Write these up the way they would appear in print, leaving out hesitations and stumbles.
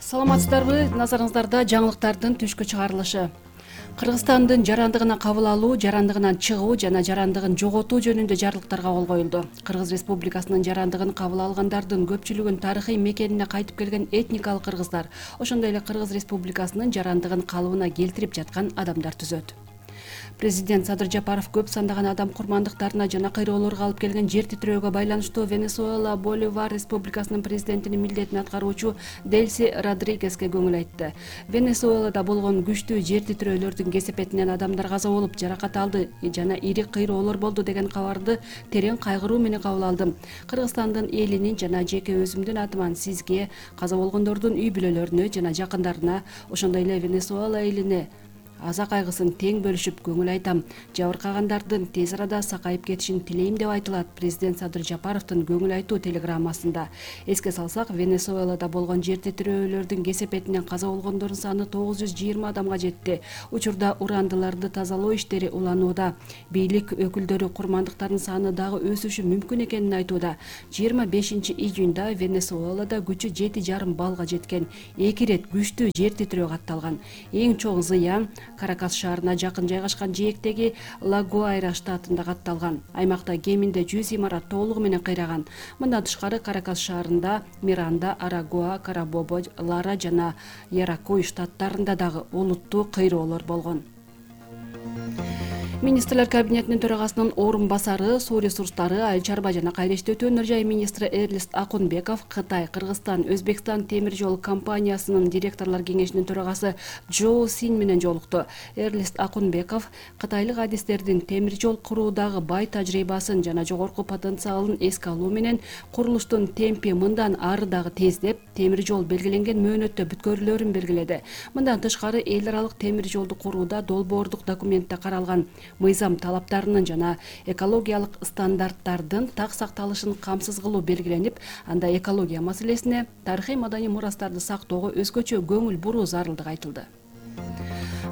Саламатсыздарбы? Назарыңыздарда жаңылыктардын түшкү чыгарылышы. Кыргызстандын жарандыгына кабыл алуу, жарандыгынан чыгуу жана жарандыгын жоготуу жөнүндө жарлыктарга кол коюлду. Кыргыз Республикасынын жарандыгын кабыл алгандардын көпчүлүгүн тарыхый мекенине кайтып келген этникалык кыргыздар, ошондой эле Кыргыз Республикасынын жарандыгын калыбына келтирип жаткан адамдар түзөт. Президент Садыр Жапаров көп сандаган адам курмандыктарына жана кыйроолорго алып келген жер титирөөгө байланыштуу Венесуэла Боливар Республикасынын президентинин милдетин аткаруучу Дельси Родригеске көңүл айтты. Венесуэлада болгон күчтүү жер титирөөлөрдүн кесепетинен адамдар каза болуп, жаракат алды жана ири кыйроолор болду деген кабарды терең кайгыруу менен кабыл алдым. Кыргызстандын элинин жана жеке өзүмдүн атыман сизге, каза болгондордун үй бүлөлөрүнө жана жакындарына, ошондой эле Венесуэла элине аза кайгысын тең бөлүшүп көңүл айтам. Жабыркагандардын тез арада сакайып кетишин тилейм деп айтылат президент Садыр Жапаровдун көңүл айтуу телеграммасында. Эске салсак, Венесуэлада болгон жер титирөөлөрдүн кесепетинен каза болгондордун саны 920 адамга жетти. Учурда урандыларды тазалоо иштери уланууда. Бийлик өкүлдөрү курмандыктардын саны дагы өсүшү мүмкүн экенин айтууда. 25-июнда Венесуэлада күчү 7,5 баллга жеткен. 2 ирет күчтүү жер титирөө катталган. Эң чоң зыян Каракас шаарына жакын жайгашкан жээктеги Ла-Гуайра штатында катталган. Аймакта кеминде 100 имарат толугу менен кыйраган. Мындан тышкары Каракас шаарында Миранда, Арагуа, Карабобо, Лара жана Яракуй штаттарында дагы олуттуу кыйроолор болгон. Министрлер кабинетинин төрагасынын орун басары, суу ресурстары, айыл чарба жана кайрылыштуу өнөр жай министри Эрлист Акунбеков Кытай, Кыргызстан, Өзбекстан темир жол компаниясынын директорлор кеңешинин төрагасы Джоу Син менен жолукту. Эрлист Акунбеков кытайлык адистердин темир жол куруудагы бай тажрыйбасын жана жогорку потенциалын эске алуу менен курулуштун темпи мындан ары дагы тездеп, темир жол белгиленген мөөнөттө бүткөрүлөрүн белгиледи. Мындан тышкары эл аралык темир жолду курууда долбоордук документте каралган мыйзам талаптарынын жана экологиялык стандарттардын так сакталышын камсыз кылуу белгиленип, анда экология маселесине, тарыхый маданий мурастарды сактоого өзгөчө көңүл буруу зарылдыгы айтылды.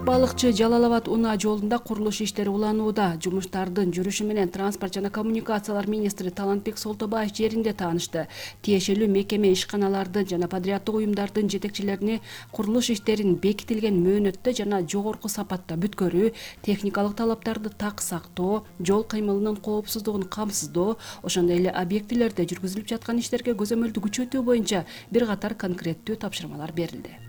Балыкчы Жалал-Абад унаа жолунда курулуш иштери уланууда. Жумуштардын жүрүшү менен транспорт жана коммуникациялар министри Талантбек Солтобаев жеринде таанышты. Тиешелүү мекеме ишканалардын жана подряддык уюмдардын жетекчилерине курулуш иштерин бекитилген мөөнөттө жана жогорку сапатта бүткөрүү, техникалык талаптарды так сактоо, жол кыймылынын коопсуздугун камсыздоо, ошондой эле объектилерде жүргүзүлүп жаткан иштерге көзөмөлдү күчөтүү боюнча бир катар конкреттүү тапшырмалар берилди.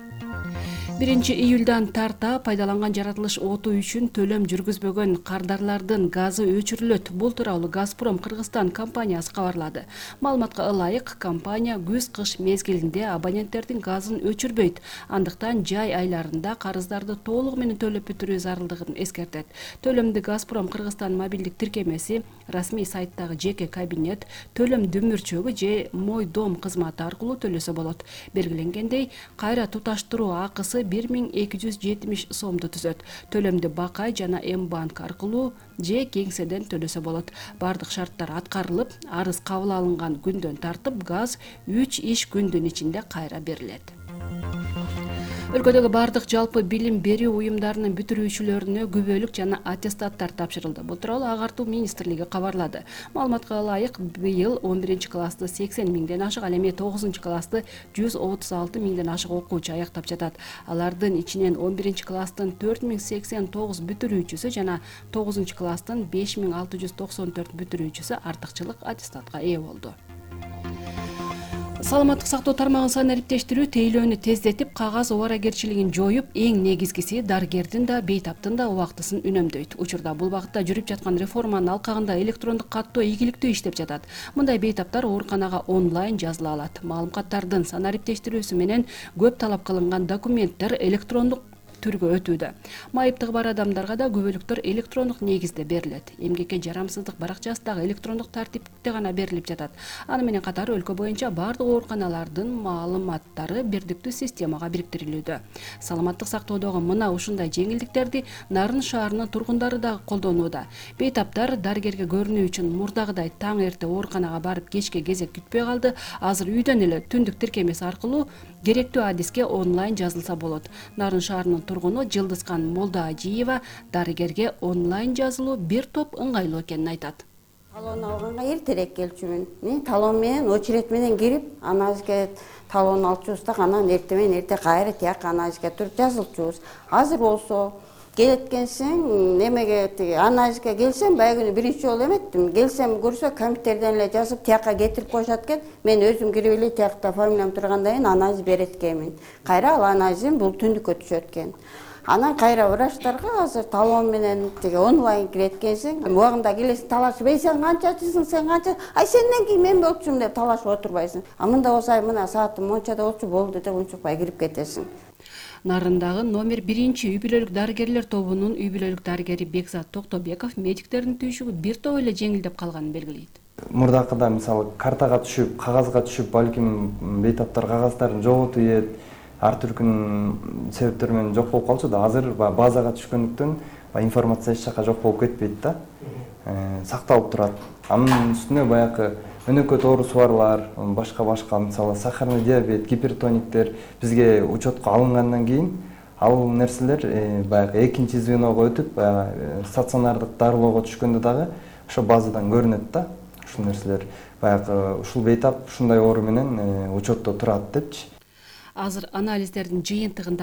1-июлдан тарта пайдаланган жаратылыш оту үчүн төлөм жүргүзбөгөн кардарлардын газы өчүрүлөт. Бул тууралуу Газпром Кыргызстан компаниясы кабарлады. Маалыматка ылайык, компания күз-кыш мезгилинде абоненттердин газын өчүрбөйт. Андыктан жай айларында карыздарды толугу менен төлөп бүтүрүү зарылдыгын эскертет. Төлөмдү Газпром Кыргызстан мобилдик тиркемеси, расмий сайттагы жеке кабинет, төлөм дүмүрчөгү же Мой дом кызматы аркылуу төлөсө болот. Белгиленгендей, кайра туташтыруу акысы 1270 сомду түзөт. Төлөмдү Бакай жана М-банк аркылуу же кеңседен төлөсө болот. Бардык шарттар аткарылып, арыз кабыл алынган күндөн тартып газ 3 иш күндүн ичинде кайра берилет. Өлкөдөгү бардык жалпы билим берүү уюмдарынын бүтүрүүчүлөрүнө күбөлүк жана аттестаттар тапшырылды. Бул тууралуу Агартуу министрлиги кабарлады. Маалыматка ылайык, быйыл 11-классты 80 миңден ашык, ал эми 9-классты 136 миңден ашык окуучу аяктап жатат. Алардын ичинен 11-класстын 4089 бүтүрүүчүсү жана 9-класстын 5694 бүтүрүүчүсү артыкчылык аттестатка ээ болду. Саламаттык сактоо тармагын санариптештирүү тейлөөнү тездетип, кагаз убаракерчилигин жоюп, эң негизгиси дарыгердин да, бейтаптын да убактысын үнөмдөйт. Учурда бул багытта жүрүп жаткан реформанын алкагында электрондук каттоо ийгиликтүү иштеп жатат. Мындай бейтаптар ооруканага онлайн жазыла алат. Маалыматтардын санариптештирүүсү менен көп талап кылынган документтер электрондук түргө өтүүдө. Майыптыгы бар адамдарга да күбөлүктөр электрондук негизде берилет. Эмгекке жарамсыздык баракчасы дагы электрондук тартипте гана берилип жатат. Аны менен катар өлкө боюнча бардык ооруканалардын маалыматтары бирдиктүү системага бириктирилүүдө. Саламаттык сактоодогу мына ушундай жеңилдиктерди Нарын шаарынын тургундары дагы колдонууда. Бейтаптар дарыгерге көрүнүү үчүн мурдагыдай таң эрте ооруканага барып кечке кезек күтпөй калды. Азыр үйдөн эле түндүк тиркемеси аркылуу керектүү адиске онлайн жазылса болот. Нарын шаарынын тургуну Жылдызкан Молдаажиева дарыгерге онлайн жазылуу бир топ ыңгайлуу экенин айтат. Талон алганга эртерээк келчүмүн. Талон менен очередь менен кирип, анализге талон алчубуз да, анан эрте менен эрте кайра тияк анализге туруп жазылчубуз. Азыр болсо келеткенсиң, немеге анализге келсем, баягы күнү биринчи жолу эметтим. Келсем көрсө компьютерден эле жазып тиякка кетирип коюшат экен. Мен өзүм кирип эле тиякта фамилиям тургандан кийин анализ берет экенмин. Кайра ал анализим бул түндүккө түшөт экен. Анан кайра врачтарга азыр талон менен онлайн кирет экенсиң. Убагында келесиң, талашып, сен канчачысың, сен канча? Сенден кийин мен болчумун деп талашып отурбайсың. Мында болсо мына саатым мончада болчу болду деп унчукпай кирип кетесиң. Нарындагы номер 1 үй бүлөлүк дарыгерлер тобунун үй бүлөлүк дарыгери Бекзат Токтобеков медиктердин түйшүгү бир топ эле жеңилдеп калганын белгилейт. Мурдакыда мисалы картага түшүп, кагазга түшүп, балким бейтаптар кагаздарын жоготуп ийет, ар түркүн себептер менен жок болуп калчу да. Азыр базага түшкөндүктөн информация эч жака жок болуп кетпейт да. Сакталып турат. Анын үстүнө баягы өнөкөт оорусубарлар, башка мисалы сахарный диабет, гипертониктер бизге учетко алынгандан кийин ал нерселер баягы экинчи звеного өтүп, стационардык дарылоого түшкөндө дагы ошо базадан көрүнөт да. Ушул нерселер баягы ушул бейтап ушундай оору менен учетто турат депчи. Азыр анализдердин жыйынтыгында